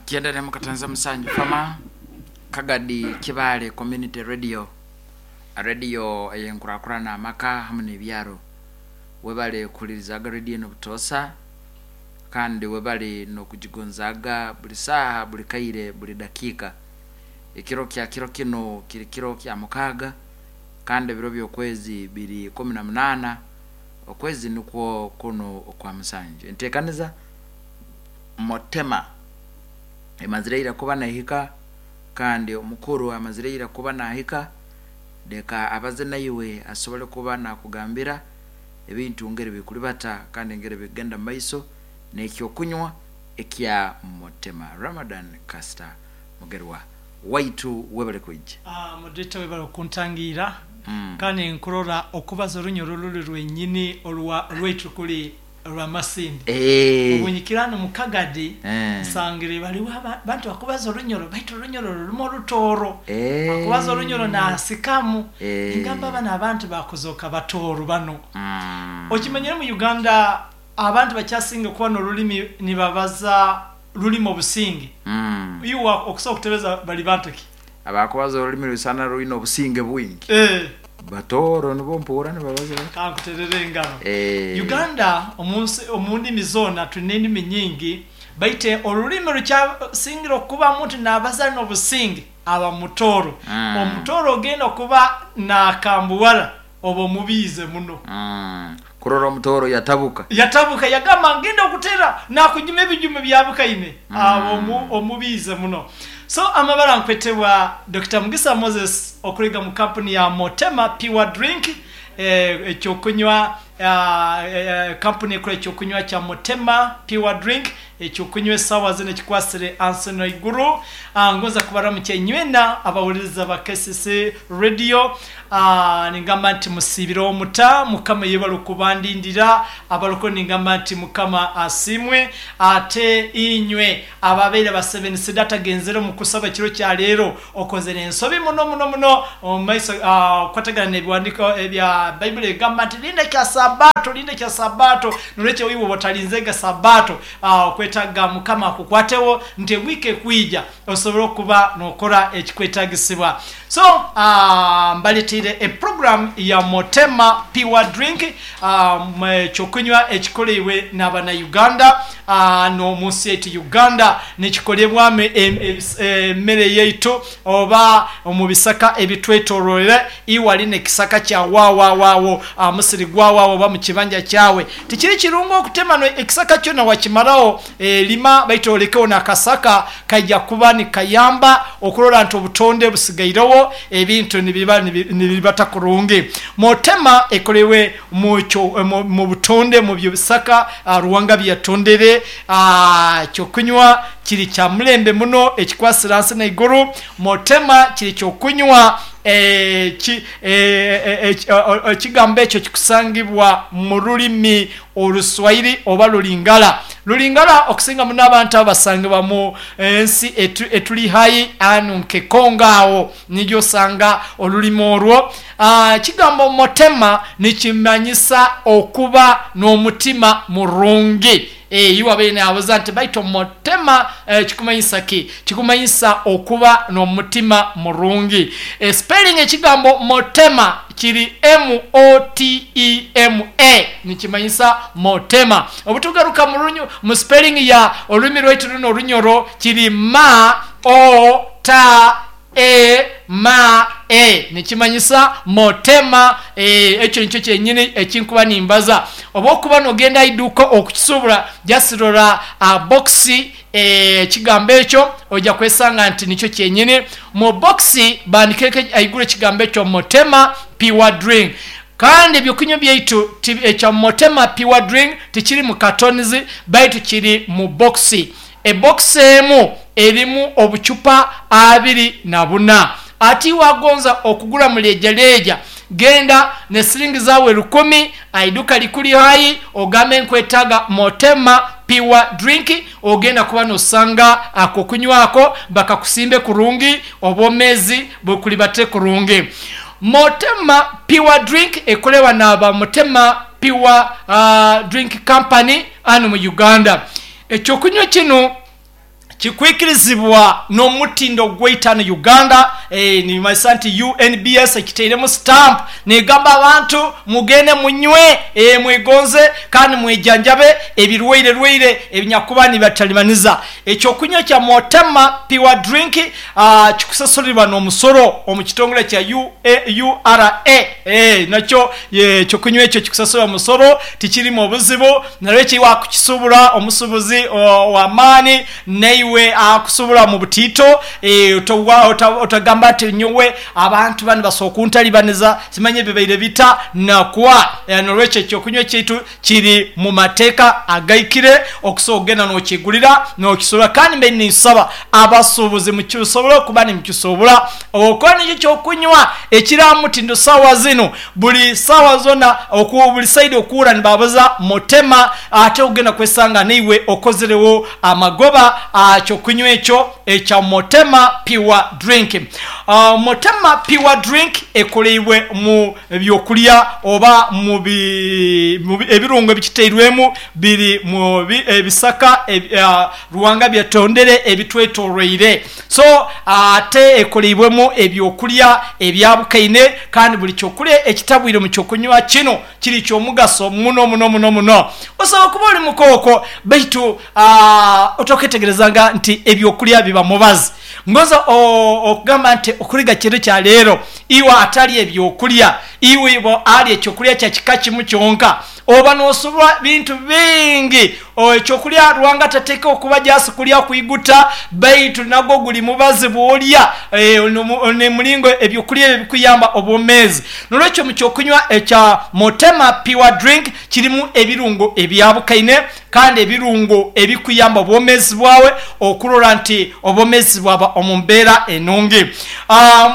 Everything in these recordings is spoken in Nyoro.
97 7 fama Kagadi Kibaale Community Radio, radio ey'enkurakurana amaka hamu n'ebyaro. Webale kuhulirizaaga radio enu butoosa kandi webale n'okugigonzaaga buli saaha, buli kaire, buli dakiika. Ekiro kya kiro kinu kiri kiro kya mukaaga kandi ebiro by'okwezi biri 18 okwezi nukwo kunu okwa musanju. Enteekaniza Motema emazire ira kuba nehika kandi omukuru amazire ira kuba nahika, leka abaze naiwe asobole kuba nakugambira ebintu ngeri bikulibata kandi ngeri bikugenda mu maiso n'ekyokunywa ekya Motema. Ramadan Kasita Mugerwa waitu webale kwija. Moderator webale okuntangiira kandi nkurora okubaza orunyoro ruli rwenyini orwa rwaitu kuli rw'amasindi. Obu nyikira hanu mu Kagadi nsangire baliwo abantu bakubaza orunyoro baitu orunyoro rurimu orutooro. Akubaza orunyoro naasikamu. Ningamba banu abantu bakuzoka batooro banu. Okimanyire mu Uganda abantu bakyasinga kuba n'orulimi nibabaza rurimu obusinge. Iwe okusobola kutebeza bali bantu ki? Abakubaza orulimi rwisana rwine obusinge bwingi. Batooro nibo mpuura nibabaza bati. Kankuterere engaro. Uganda omunsi omu ndimi zoona twine endimi nyingi baitu orulimi rukyasingire okuba muntu nabaza n'obusinge aba mutooro. Omutooro ogenda kuba nakambuwara oba omubiize muno. Kurora omutooro yatabuka. Yatabuka yagamba ngenda okutera nakujuma ebijumo byabukaine aba omubiize muno. So amabara nkwetebwa Dokita Mugisa Moses okuruga mu kampuni ya Motema Pure Drink ekyokunywa kampuni ekora ekyokunywa kya Motema Pure Drink ekyokunywa esaawa zinu ekikwasire ansi n'eiguru. Ngonza kubaramukya inywena abahuliriza ba KCC Radio. Ningamba nti musiibireho muta, Mukama yebale okubandindira. Abaroko ningamba nti Mukama asiimwe. Ate inywe ababaire ba Seven Seed atagenzere omu kusaba ekiro kya leero, okozere ensobi muno muno muno omu maiso okukwatagana n'ebiwandiiko ebya Baibuli egamba nti linda kya Sabato, linda kya Sabato. Nolwekyo iwe oba otalinzega Sabato, okwetaaga Mukama akukwateho nti ewiiki ekwija osobole okuba nokora ekikwetagisibwa. So mbaletiire eprogram ya Motema Pure Drink, ekyokunywa ekikoleibwe n'abana-Uganda n'omunsi yaitu Uganda, nikikolebwamu emere yaitu oba omu bisaka ebitwetoroire. Iwe ali n'ekisaka kya waawawaawo, musiri gwawaawo oba mu kibanja kyawe, tikiri kirungi okutema ekisaka kyona wakimaraho. Lima baitu olekeho n'akasaka kaija kuba nikayamba okurora nti obutonde busigaireho, ebintu nibiba nibiribata kurungi. Motema ekoleirwe mu butonde mu by'ebisaka Ruhanga byeyatondere. Ekyokunywa kiri kya mulembe muno ekikwasire hansi n'eiguru. Motema kiri kyokunywa ekigambo ekyo kikusangibwa mu rulimi Oruswahili oba Lulingala. Lulingala okusinga muno abantu abo basangibwa mu ensi etuli hai anu nke Congo agho nijo osanga olulimi olwo. Ekigambo motema nikimanyisa okuba n'omutima murungi. Iwe abaire nabuza nti baitu motema kikumanyisa ki? Kikumanyisa okuba n'omutima murungi. Spelling ekigambo motema kiri M-O-T-E-M-A nikimanyisa motema. Obutugaruka mu spelling ya olulimi lwaitu luno Orunyoro kiri M-O-T-E-M-A nikimanyisa motema. Ekyo nikyo kyenyini ekinkuba nimbaza. Oba okuba nogenda aha iduuka okukisubura just rora box ekigambo ekyo oija kwesanga nti nikyo kyenyini. Mu box bandikeku ahaiguru ekigambo ekyo Motema Pure Drink. Kandi ebyokunywa byaitu ekya Motema Pure Drink tikiri mu cartons baitu kiri mu box. Ebox emu erimu obucupa 24. Ati iwe agonza okugura mu lejaleja, genda ne siringi zawe 1000 aiduka likuli hai ogambe nkwetaga Motema Pure Drink, ogenda kuba nosanga akokunywako bakakusimbe kurungi, obwomezi bukulibate kurungi. Motema Pure Drink ekolewa n'aba Motema Pure Drink Company anu mu Uganda. Ekyokunywa kinu Kikwikirizibwa n'omutindo gweitano Uganda, nimanyisa nti UNBS ekiteiremu stamp negamba abantu mugende munywe, mwegonze kandi mwejanjabe ebirwaire rwaire ebinyakuba nibatalibaniza. Ekyokunywa kya Motema Pure Drink kikusasulirwa n'omusoro omu kitongole kya URA. Nakyo ekyokunywa ekyo kikusasulirwa omusoro, tikirimu obuzibu, nalwekyo iwe akukisubura omusubuzi ow'amaani naiwe akusubura mu butiito, otagamba nti nyowe abantu banu basobola kuntalibaniza simanye bibaire bita nakwa. Nolwekyo ekyokunywa kyaitu kiri mu mateeka agaikire okusobola okugenda nokyegulira nokisobola, kandi mbaire ninsaba abasuubuzi mukisobole okuba nimukisobola okuba nikyo kyokunywa ekiri aha mutindo saawa zinu. Buli saawa zona buli saidi okuwura nibabuza Motema, ate ogenda kwesanga naiwe okozerewo amagoba aha kyokunywa ekyo ekya Motema Pure Drink. Motema Pure Drink ekoleibwe mu byokulya oba mu ebirungo ebikiteirwemu biri mu ebisaka Ruhanga byatondere ebitwetoroire. So ate ekoleibwemu ebyokulya ebyabukaine kandi buli kyokulya ekitabwire mu kyokunywa kino kiri kyomugaso muno muno muno muno. Osobola okuba oli mukooko baitu otoketegerezanga nti ebyokulya biba mubazi. Ngonza okugamba nti okuliga kiro kya leero iwe atalya ebyokulya, iwe alya ekyokulya kya kika kimu kyonka, oba n'osubwa bintu bingi. Ekyokulya Ruhanga tateeka okuba just kulya kwiguta, baitu nagwo guli mubazi bw'olya n'emulingo ebyokulya ebyo bikuyamba obwomeezi. N'olwekyo mu kyokunywa ekya Motema Pure Drink kirimu ebirungo ebyabukaine kandi ebirungo ebikuyamba obwomeezi bwawe okurora nti obwomeezi bwaba omu mbeera enungi.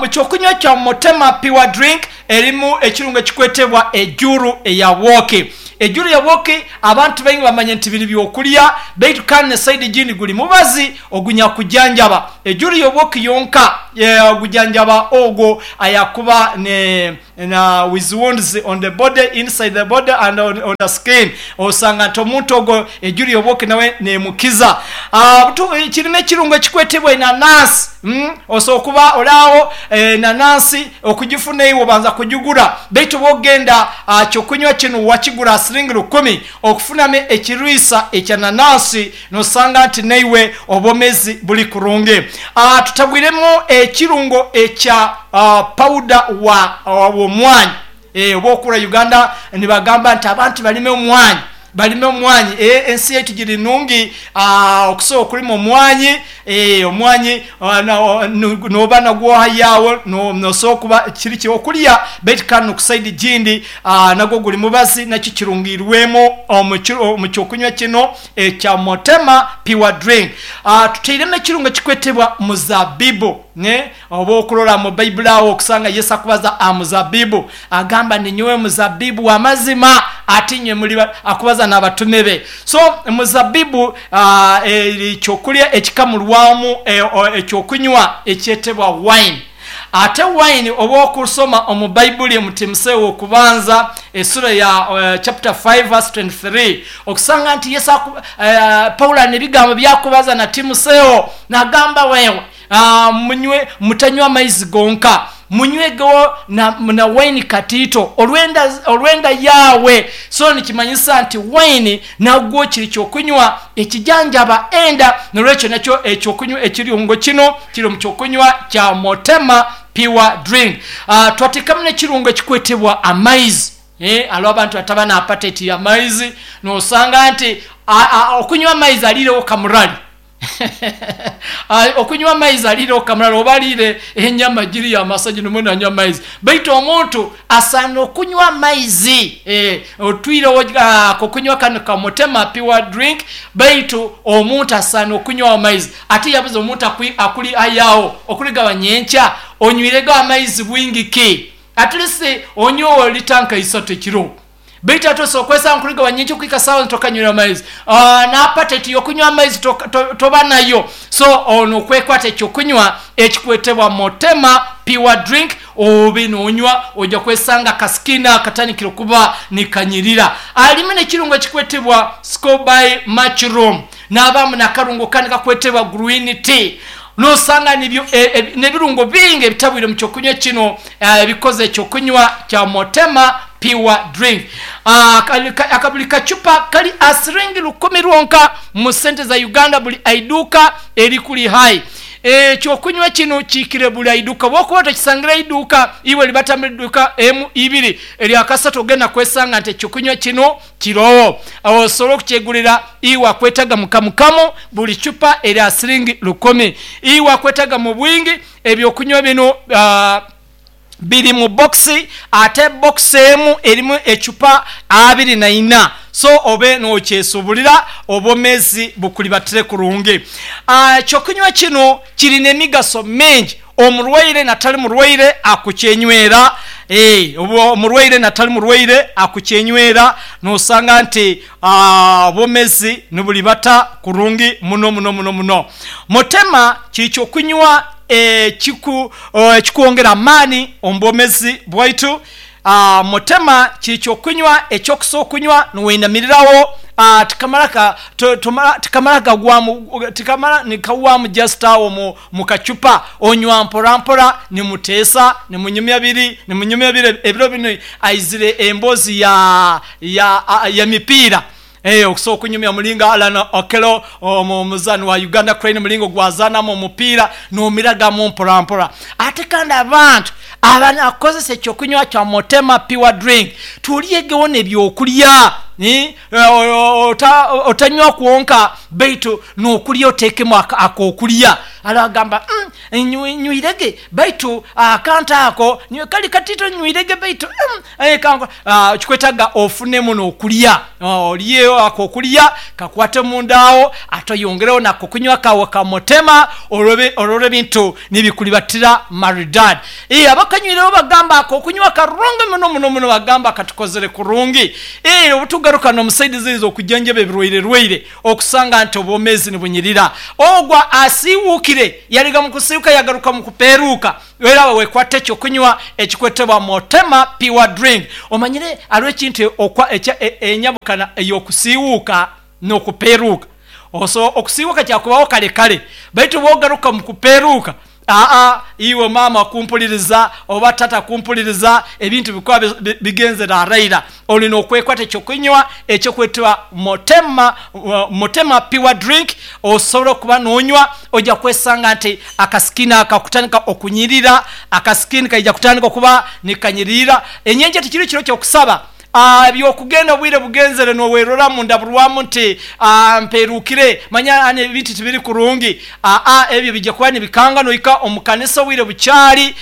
Mu kyokunywa kya Motema Pure Drink erimu ekirungo ekikwetebwa ejuru eya bwoki. Ejuru ya bwoki abantu baingi bamanya nti biri byokulya, baitu kandi ne saidi egindi guli mubazi ogunyakujanjaba. Ejuru y'obwoki yonka ogujanjaba ogwo ayakuba na with wounds on the body, inside the body and on the skin. Osanga nti omuntu ogwo ejuru y'obwoki nawe nemukiza. Kirimu ekirungo ekikwetebwa enanansi. Osobola okuba oli agho enanansi okugifuna iwe obanza kugigura, baitu bwogenda kyokunywa kino wakigura siringi lukumi, okufunamu ekiriisa ekya nanansi nosanga nti naiwe obwomezi buli kurungi. Tutabwiremu ekirungo ekya pawuda w'omwanyi. Oba okura Uganda nibagamba nti abantu balime omwanyi, balime omwanyi. Ensi yaitu giri nungi okusobola okulima omwanyi. Omwanyi noba nagwo ohayo agho nosobola okuba kiri kyokulya, baitu kandi ku saidi egindi nagwo guli mubazi, nakyo kirungiirwemu omu kyokunywa kino ekya Motema Pure Drink. Tutairemu ekirungo ekikwetebwa muzabibu. Oba okurora mu Baibuli agho okusanga Yesu akubaza aha muzabibu, agamba ninyowe muzabibu w'amazima ate inywe muli akubaza n'abatume be. So muzabibu eri kyokulya ekikamulwamu ekyokunywa ekyetebwa wine. Ate wine oba okusoma omu Baibuli omu Timoseewo w'okubanza esura ya chapter 5 verse 23 okusanga nti Yesu Paulo alina ebigambo byakubaza na Timoseewo nagamba wewe Munywe, mutanywa amaizi gonka, munywegho na waini katiito olw'enda yaabwe. So nikimanyisa nti waini nagwo kiri ky'okunywa ekijanjaba enda. N'olwekyo nakyo eky'okunywa ekirungo kino kiri mu ky'okunywa kya Motema Pure Drink. Twateekamu n'ekirungo ekikwetebwa amaizi. Hariho abantu ataba na apateti y'amaizi, n'osanga nti okunywa amaizi aliiregho kamurari. Okunywa amaizi aliireho kamurari oba aliire enyama giri y'amasa gino mbwenu anywa amaizi. Baitu omuntu asaana okunywa amaizi. Otwireho akokunywa kanu ka Motema Pure Drink, baitu omuntu asaana okunywaho amaizi. Ate yabuza omuntu akuli ayaawo okurigaba nyenkya, onywirego amaizi bwingi ki? At least onyweho lita nka isatu ekiro. Baitu ate osobola okwesanga nkuliga nyenkya okuhika saawa zinu tokanywire amaizi. N'apateti y'okunywa amaizi toba nayo. So ono okwekwata ekyokunywa ekikwetebwa Motema Pure Drink obe nonywa oja kwesanga akasikini akatandikire okuba nikanyirira. Alimu n'ekirungo ekikwetebwa Scoby Mushroom. Nabamu nakarungo kandi kakwetebwa green tea. Nosanga nibyo n'ebirungo bingi ebitabwire mu kyokunywa kino, ebikoze ekyokunywa kya Motema Pure Drink. Akabuli kacupa kali asiringi 1000 rwonka mu sente za Uganda, buli aiduka erikuli hai. Ekyokunywa kino kikire buli aiduka, bwokuba tokisangira iduka iwe libatambira iduka emu ibiri eryakasatu ogenda kwesanga nti ekyokunywa kino kirowo. Osobola okukyegulira iwe akwetaga mukamukamu, buli cupa eri asiringi 1000. Iwe akwetaga mu bwingi ebyokunywa bino biri mu boxi, ate boxi emu erimu ecupa 24. So obe nokyesubulira obwomezi bukulibatire kurungi. Ekyokunywa kino kirina emigaso mingi. Omurwaire natali murwaire akukyenywera, omurwaire natali murwaire akukyenywera, nosanga nti obwomezi nibulibata kurungi muno muno muno muno. Motema kiri kyokunywa ekikwongera amaani omu bwomezi bwaitu. Motema kiri kyokunywa ekyokusobola okunywa niweinamirirawo, tikamara gagwamu, tikamara nikagwamu just awo mu kacupa, onywa mpora mpora, nimuteesa, nimunyumya biri, nimunyumya biri. Ebiro bino aizire embozi ya mipiira. Okusobola okunyumya mulinga Alan Okello omuzani wa Uganda Crane, mulingo gwazanamu omupiira nomiragamu mpora mpora. Ate kandi abantu abanakozesa ekyokunywa kya Motema Pure Drink, tulyegewo n'ebyokulya. Otanywa kwonka baitu n'okulya oteekemu akokulya. Alagamba nywirege baitu akantu ako kali katito, nywirege baitu kikwetaga ofunemu n'okulya, olye akokulya kakwate mundaawo, ate oyongereho nakokunywa kawe ka Motema, olwo ebintu nibikulibatira maridadi. Abakanywireho bagamba akokunywa karungi muno muno muno, bagamba katukozere kurungi. Obutugaruka n'omusaidi ziriza okujanjaba ebirwaire rwaire, okusanga nti obwomezi nibunyirira. Ogwa asiiwuukire yaliga mu kusiiwuka yagaruka mu kupeeruuka, era wekwata ekyokunywa ekikwetebwa Motema Pure Drink. Omanyire aliwo ekintu enyabukana ey'okusiiwuuka n'okupeeruuka. Oso okusiiwuuka kyakubaho kale kale, baitu bwogaruka mu kupeeruuka, aa iwe maama kumpuliriza oba tata kumpuliriza, ebintu bikuba bigenzere araira. Olina okwekwata ekyokunywa ekyokwetwa Motema Pure Drink, osobola okuba nonywa, ojja kwesanga nti akasikini akakutandika okunyirira, akasikini kaija kutandika okuba nikanyirira. Enyenje tikiri kiro kyokusaba ebyokugenda obwire bugenzere nowerora mundaburwamu nti mperukire, manya ebintu tibiri kurungi. Ebyo bijja kuba nibikanga noika omukanisa obwire bukyali,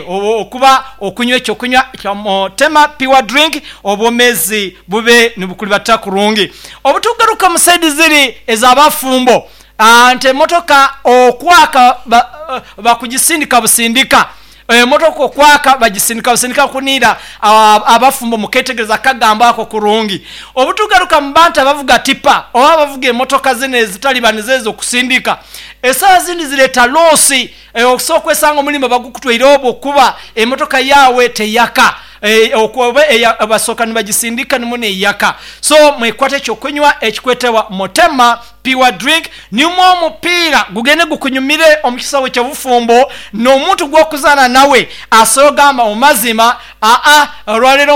okuba okunywa ekyokunywa kya Motema Pure Drink, obwomezi bube nibukulibata kurungi. Obutugaruka mu saidi ziri ez'abafumbo, nti emotoka okwaka bakugisindika busindika, emotoka okwaka bagisindika busindika kunira. Abafumbo muketegereza akagambo ako kurungi. Obutugaruka mu bantu abavuga tipa oba abavuga emotoka zino ezitalibaniza ezo okusindika, esawa zindi zireta loosi. Okusobola okwesanga omulimo bagukutwaire obwo okuba emotoka yawe teyaka, basoka nibagisindika nimu neyaka. So mwekwate ekyokunywa ekikwetebwa Motema Pure Drink, nimwo omupiira gugende gukunyumire omu kisawe ky'obufumbo, n'omuntu gw'okuzaana nawe asobola ogamba mu mazima aa olwaleero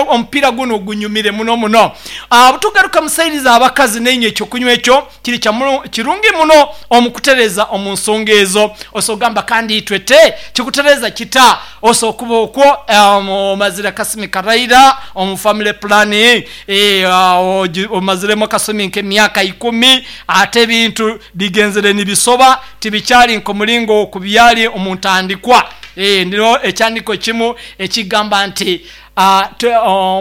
omupiira guno gunyumire muno muno. Obutugaruka mu saidi z'abakazi, nainywe ekyokunywa ekyo kiri kirungi muno omu kutereza omu nsonga ezo. Osobola ogamba kandi itwe te kikutereza kita? Osobola okuba okwo omazire akasumi karaira omu family planning, omaziremu akasumi nk'emyaka 10, ate ebintu bigenzere nibisoba, tibikyali nk'omulingo okubyali omu ntandikwa. Ndiro ekyandiko kimu ekigamba nti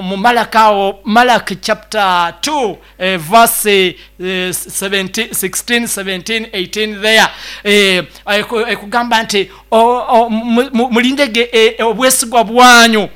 mu Malaki awo, Malaki chapter 2 verse 17, 16, 17, 18 there, ekugamba nti mulindege obwesigwa bwanyu,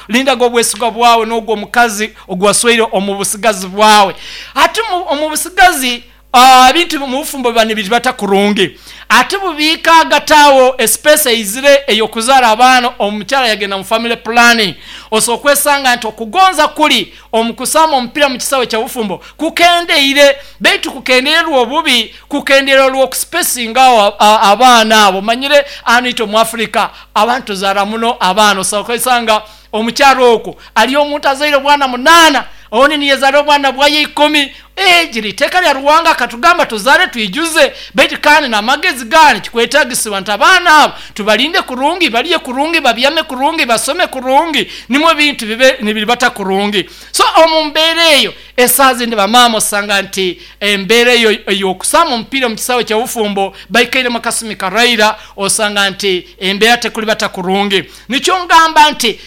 lindaga obwesigwa bwawe n'ogwo omukazi ogwasweire omu busigazi bwawe. Ate omu busigazi Ebintu mu bufumbo biba nibiribata kurungi. Ate bubiika hagati awo espace eizire ey'okuzaara abaana, omukyara yagenda mu family planning, osobola okwesanga nti okugonza kuli omu kusamba omupiira mu kisaawe kya bufumbo kukendeire. Baitu kukendeire rw'obubi, kukendeire rw'okuspacingaho abaana abo. Omanyire hanu itwe omu Africa abantu tuzaara muno abaana, osobola kwesanga omukyaro okwo aliyo omuntu azaire obwana 8, ondi niyezaara obwana bwaye 10. Egi liteeka lya Ruhanga akatugamba tuzaare twijuze, baitu kandi n'amagezi gani kikwetagisibwa nti abaana abo tubalinde kurungi, balye kurungi, babyame kurungi, basome kurungi, nimwo ebintu bibe nibiribata kurungi. So omu mbeera eyo esaaha zindi bamaama osanga nti embeera eyo ey'okusamba omupiira omu kisaawe ky'obufumbo baikairemu akasumi karaira, osanga nti embeera tekulibata kurungi. Nikyo ngamba nti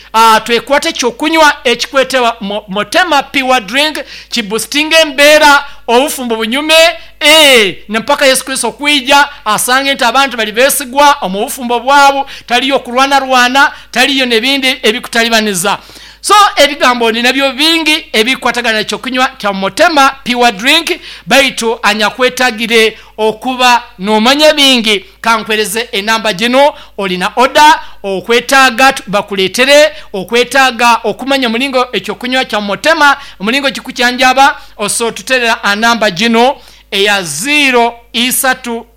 twekwate ekyokunywa ekikwetebwa Motema Pure Drink, kiboostinga embeera, obufumbo bunyume, mpaka Yesu Kristo okwija asange nti abantu bali besigwa omu bufumbo bwabo, taliyo kurwanarwana, taliyo n'ebindi ebikutalibaniza. So ebigambo ndi nabyo bingi ebikwatagana n'ekyokunywa kya Motema Pure Drink, baitu anyakwetagire okuba nomanya bingi kankwereze enamba gino. Olina oda okwetaaga bakuleetere, okwetaaga okumanya omulingo ekyokunywa kya Motema omulingo kikukyanjaba, osobola otuterera anamba gino eya 0 isatu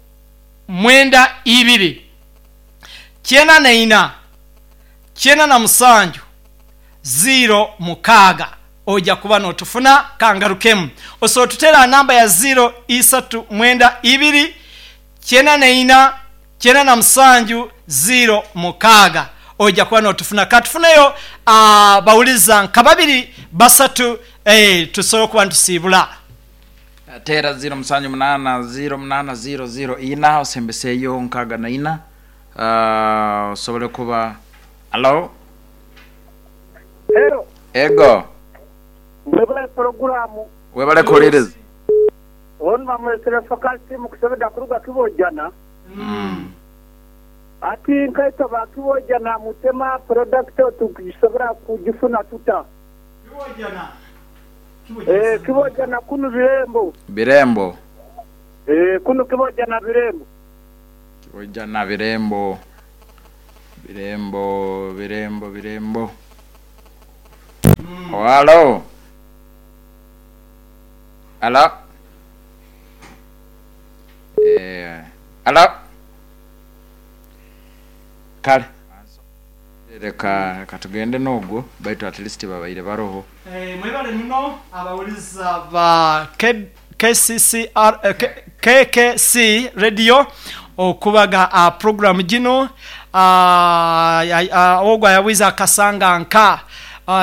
mwenda ibiri kyenda na ina kyenda na musanju 0 mukaaga, ojja kuba n'otufuna. Kangarukemu, osobola otutera namba ya 0 isatu mwenda ibiri kyenda na ina kyenda na musanju 0 mukaaga, ojja kuba n'otufuna. Katufuneyo bawuliza nka 2 3, tusobole okuba nitusiibula. Tera 0 musanju munaana 0 munaana 0 0 ina osembeseeyo nkaaga na ina, osobole kuba. Alo? Hello. Ego. Mwebale poroguramu. Webale kuhuliriza. Onu bamulesere faculty mukusebeda kuruga Kibojana. Ati nkaitwe ba Kibojana mutema product tukisobora kugifuna tuta? Kibojana. Kibojana kunu Birembo. Birembo. Kunu Kibojana Birembo. Kibojana Birembo. Birembo, Birembo, Birembo. Alo. Alo. Alo. Kale. Leka katugende n'ogwo, baitu at least babaire baroho. Mwebale muno abawuliza ba KCCR, KKC Radio okubaga program gino. Ogwo ayawiza akasanga nka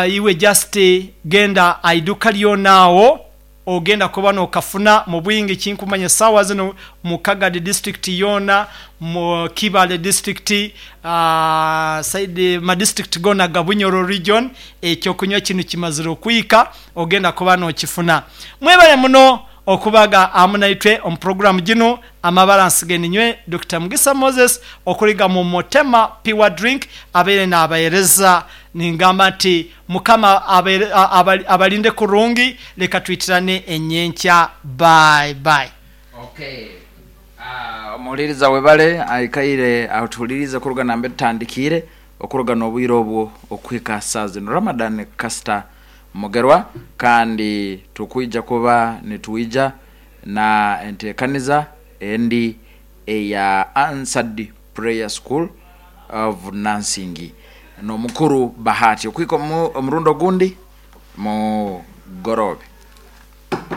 iwe just genda aiduka lyonaawo ogenda kuba n'okafuna mu bwingi. Kinkumanya saawa zino mu Kagadi district yoona, mu Kibale district, side ma district gona ga Bunyoro region, ekyokunywa kino kimazire okwika, ogenda kuba n'okifuna. Mwebale muno okubaga amu naitwe omu program gino. Amabalansi geninywe Dr. Mugisa Moses okuliga mu Motema Pure Drink abeere n'abaereza. Ningamba nti Mukama abalinde kurungi, leka twitirane enyenkya. Bye bye. Okay. Omuhuliriza webale aikaire atuhulirize okuruga nambe tutandikiire okuruga n'obwire obwo okuhika saa zino. Ramadan Kasita Mugerwa, kandi tukwija kuba nitwija na enteekaniza endi eya Answered Prayer School of Nursing n'omukuru Bahati okuhika omurundi ogundi mugoroobe.